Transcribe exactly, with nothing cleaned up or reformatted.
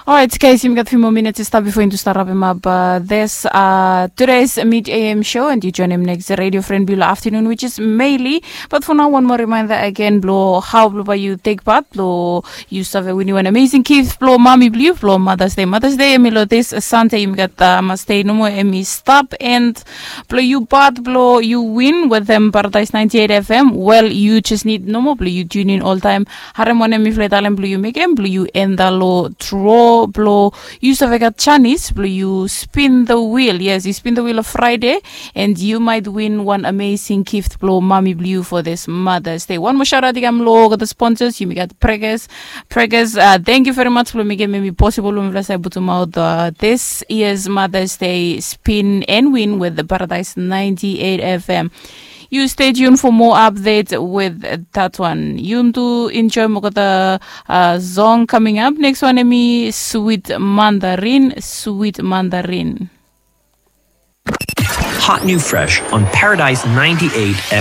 Orait, guys, yumi gat few more minutes i stap before into start wrap him up uh, this uh, today's mid A M show, and you join him next radio friend below afternoon, which is Meili. But for now, one more reminder again, blo how blo by you take part, blo you save win you an amazing gift, blo mami blo you, blo Mother's Day. Mother's Day, emi lo this Sunday, yumi gat uh, must stay no more, emi stop, and blo you part, blo you win with them Paradise ninety-eight F M. Well, you just need no more, blo you tune in all time. Harem wanem mifala i talem blo yu mekem blo yu enda lo draw blo yu save gat chanis blo yu spin the wheel. Yes, yu spin the wheel of Friday, and you might win one amazing gift blo mami blo yu for this Mother's Day. One more shout out i kam lo olgeta sponsors. Yumi gat Pregas. Pregas, uh, thank you very much blo mekem emi possible blo mifala save putum out uh, this year's Mother's Day spin and win with the Paradise ninety-eight F M. You stay tuned for more update with that one. Yuntu enjoy mokota uh, song coming up. Next one emi Sweet Mandarin, Sweet Mandarin. Hot new fresh on Paradise ninety-eight F M.